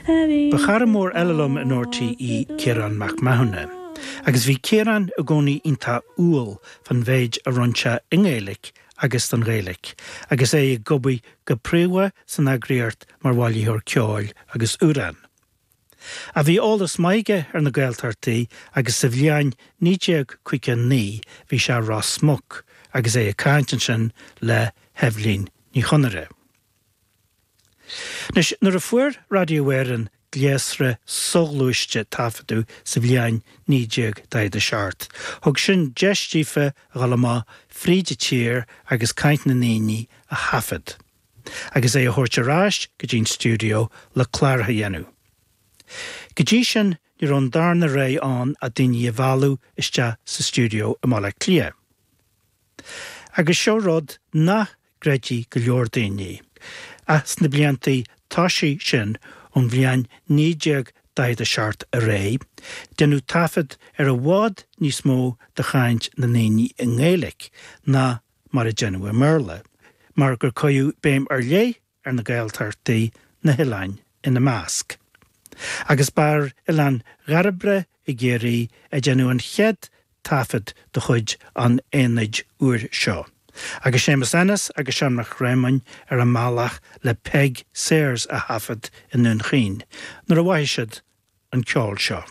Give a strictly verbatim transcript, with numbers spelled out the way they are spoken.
Ba chara mór eile liom in RTÉ Ciarán Mac Mathúna. Agus bhí Ciarán i gcónaí iontach umhal fan mhéid a rinne sé i nGaeilge agus don Ghaeilge, agus é ag obair go príomha san eagraíocht mar bhailitheoir ceoil agus amhrán. Ach bhí eolas maith aige ar na Gaeltachtaí agus sa bhliain naoi déag caoga naoi bhí sé Ros Muc agus é ag caint ansin le hEibhlín Ní Chonaire. Anois nuair a fuair Raidió Éireann gléasra soghluaiste taifeadadh sa bhliain naoi déag daichead a seacht, thug sin deis daofa a dhul amach fríd an tír agus caint na ndaoine a thaifead, agus é a thabhairt ar ais go dtí'n stiúideo le clár a dhéanamh. Go dtí sin ní raibh an darna rogha ann ach daoine a mhealladh isteach sa stiúideo i mBaile Átha Cliath. Agus seo rud nach gcreidfidh go leor daoine. Ach sna blianta tosaigh sin ón bhliain naoi déag daichead a seacht ar aghaidh, deineadh taifead ar i bhfad níos mó de chaint na ndaoine i nGaeilge ná mar a deineadh i mBéarla, mar gur cuireadh béim ar leith ar na Gaeltachtaí, na hoileáin ina measc. Agus ba ar Oileán Dhairbre i gCiarraí a deineadh an chéad taifead de chuid an aonaid úir seo. Agus Séamus Ennis agus Seán Mac Réamoinn ar a mbealach le Peig Sayers a thaifead i nDún Chaoin, nuair a mhothaigh siad an ceol seo.